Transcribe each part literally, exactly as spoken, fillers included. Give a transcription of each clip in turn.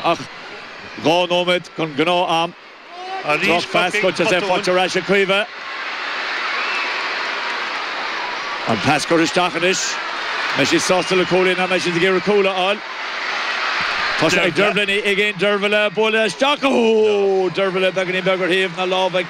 Ach dhá nóiméad den ghnáth-am. Arís Drochphas Corcaigh, goite sé botún. faighte ar ais ag Caoimhe. An pas curtha isteach anois. Beidh siad sásta le cúilín ná beidh siad ag iarraidh cúl a fháil. Tá sé ag Dervla. Dervla Ní Uiginn, Dervla bualadh isteach. Ó, Dervla beagáinín beag ar thaobh na láimhe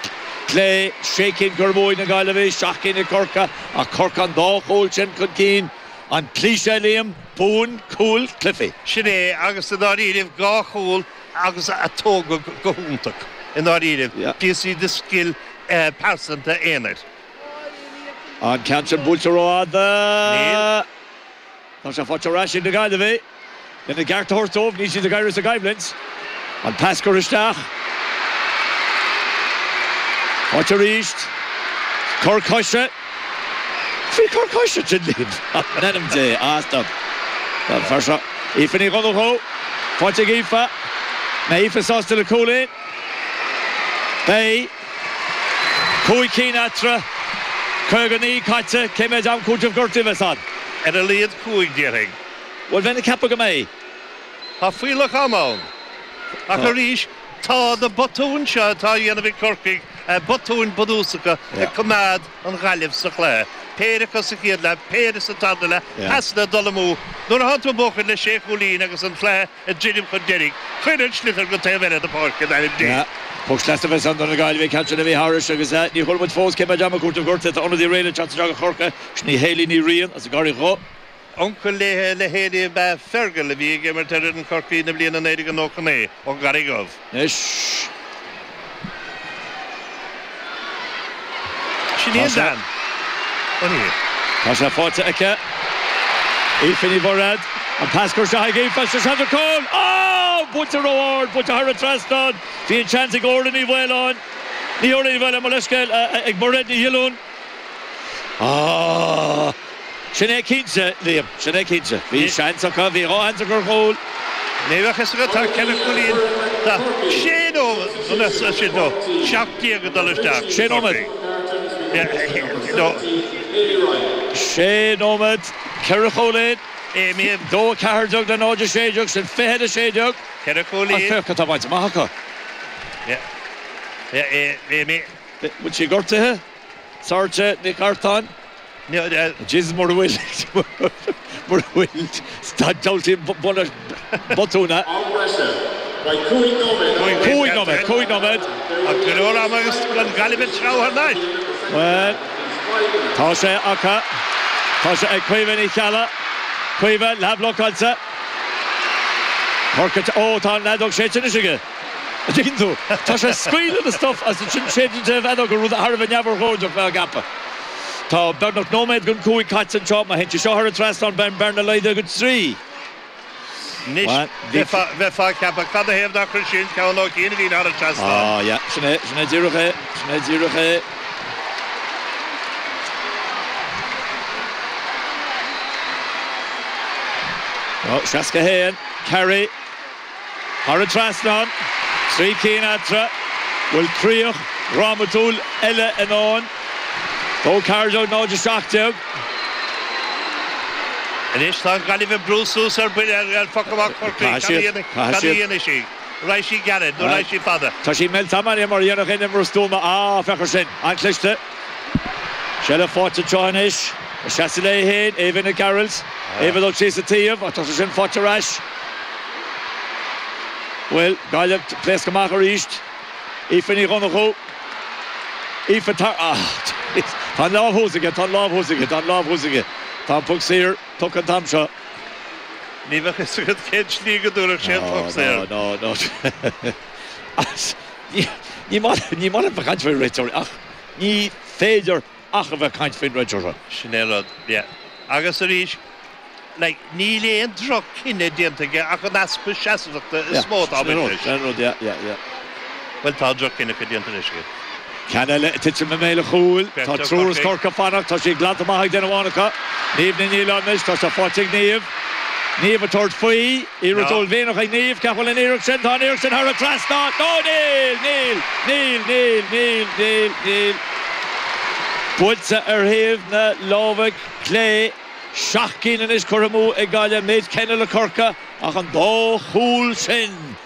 clé. Sé cinn curtha amú ag na Gaillimhigh, seacht gcinn ag Corcaigh, ach Corcaigh an dá chúl sin chun cinn. An cliché Liam, buann cúil cluichí. Sin é agus i ndáiríribh dhá chúl agus a tógadh go hiontach i ndáiríribh. Yeah. Píosaí de scil eh, pearsanta aonair. An ceann sin buailte rófhada. Níl. Tá sé faighte ar ais ag na Gaillimhigh. Lena gceart a thabhairt dóibh, níl siad ag éirí sa gcoimhlint. An pas curtha isteach. Faighte arís. Cor coise. Bhí cor coise sin Liam. In ainm Dé, ah stop. Tá fear seo. Aoife Ní Dhonnchú. Faighte ag Aoife. Na Aoife sásta le cúilín. Beidh. Cúig cinn eatarthu. Caoga naoi caite, cé mhéad am cúitimh gortaithe a bheas ann? Ar a laghad cúig déarfainn. Bhuel bheinn ag ceapadh go mbeidh. Tá fuílleach ama ann. Ach Tá. arís tá na botúin seo atá á dhéanamh ag Corcaigh, eh, botúin bunúsacha Yeah. ag coimeád an Ghaillimh sa chluiche. Péire acu sa chéad leath, péire sa tarna leath, Yeah. pasanna ag dul amú. Nuair atá tú ag buachan le sé chúilín agus an cluiche ag druidim chun deiridh, cuir an sliotar go taobh eile na páirce in ainm Dé. Yeah. Poc sleasa a bheas ann do na Gaillimhigh ceann sin a bhí thairis agus eh, ní chuala muid fós cé mhéad am cúitimh gortaithe tá ionadaí réidh le teacht isteach do Chorcaigh, sin í Hayley Ní Riain as an gCarraig Dhubh. Uncail le le Hayley ab ea Fergal a bhí ag imirt ar an Chorcaí na bliana naoi déag nócha naoi ón gCarraig Dhubh. Anois Sin Tá í an sé- bhean. Ó ní. Tá sé faighte aici. Aoife Ní Mhuirhead. An pas curtha isteach ag Aoife sé seans ar chúl. Ó! Buailte ró-ard, buailte thar an trasnán. Bhí an seans ag Orla Ní Mhaoláin. Ní Orla Ní Mhaoláin mar leithscéal ag Mairéad Ní Dhiolúin. Ah! Sin é cinnte, Liam, sin é cinnte. Bhí seans acu, bhí dhá sheans acu ar chúl. Ní bheadh fhios agat tá ceithre chúilín tá sé nó sin nó seacht déag ag dul isteach. Sé nóiméad. No, Sé nóiméad, ceithre chúilín. Amy Dó ceathair déag le náid a sé déag, sin fiche a sé déag. ceithre An chúilín. féach atá bainte amach acu. Yeah. Yeah, Amy. Bhfuil sí gortaithe? Sorcha Nic Artáin. No, uh, Jesus mura bhfuil mura bhfuil diabhaltaí buna botúna. Am breise. Beidh cúig nóiméad. Cúig nóiméad, cúig nóiméad. Ach go leor ama agus an Ghaillimh ag treabhadh thar n-ais. Well, tá sé acu. Tá sé ag Caoimhe Ní Cheallaigh. Caoimhe leathbhlocáilte. Corcaigh ó tá an fheadóg séidte anois aige. An dtuigeann tú? Tá sé scaoileadh na stuif as an sin séideann sé an fheadóg rud thar a bheith neamhurchóideach bheith á gceapadh. Tá beagnach nóiméad don cúig caite anseo má théann sí seo thar an trasnán beidh an bhearna laghdaithe go trí. Anois Well, bhí- bheifeá ag ceapadh cad ina thaobh nár chuir sí an ceann ó chian a bhí thar an trasnán. Ah, yeah, sin é, sin é díreach é, sin é díreach é. Oh, seasca haon, Carey, thar an trasnán, trí cinn eatarthu, bhfuil críoch dhrámatúil eile i ndán. Dó ceathair déag náid a seacht déag. Anois tá an Ghaillimh ag brú suas ar buile ar ar phoc amach Chorcaí. Caithfidh siad, Cad caithfidh a siad. dhéanfaidh sí? Raghaidh sí gairid nó raghaidh sí fada. Tá sí millte mar mar dhéanamh in mar stuama á féach air sin, an-chliste. Seilbh faighte anseo anois, seasamh léi féin, Eva Nic Gearailt, Eva dul síos sa taobh, ach tá sé sin faighte ar ais. Bhuel, Gaillimh pléasc amach arís. Aoife Ní Dhonnchú. Aoife tar ah, Tá an lámh thuas aige, tá an lámh thuas aige, tá an lámh thuas aige. Tá an poc saor tugtha an t-am seo. Ní bheadh fhios agat cén slí go dtabharfadh sé an poc saor. No, no, no. As, Ní ní maith ní maith liom bheith caint faoin réiteoir ach ní féidir ach a bheith caint faoin réiteoir. Sin é rud, yeah. Agus arís, like, níl aon droch-chinneadh déanta aige ach an easpa seasmhachta is mó atá Sin rud, leis. sin rud, yeah, yeah, yeah. Bhuel tá droch-chinneadh déanta leis aige. Ceann eile ag titim i mbéal an chúil, tá Beirt triúr as Corcaigh. Corcaigh fanacht, tá sí glanta amach ag duine amháin acu. Niamh Ní Nialláin anois, tá sé faighte ag Niamh. Niamh ag tabhairt faoi, iarracht No. uaillmhianach ag Niamh, ceap bhfuil an iarracht sin, tá an iarracht sin thar an trasnán. No, níl, níl, níl, níl, níl, níl, níl. Buailte ar thaobh na láimhe clé, seacht gcinn anois curtha amú ag Gaillimh, méid céanna le Corcaigh ach an dá chúl sin.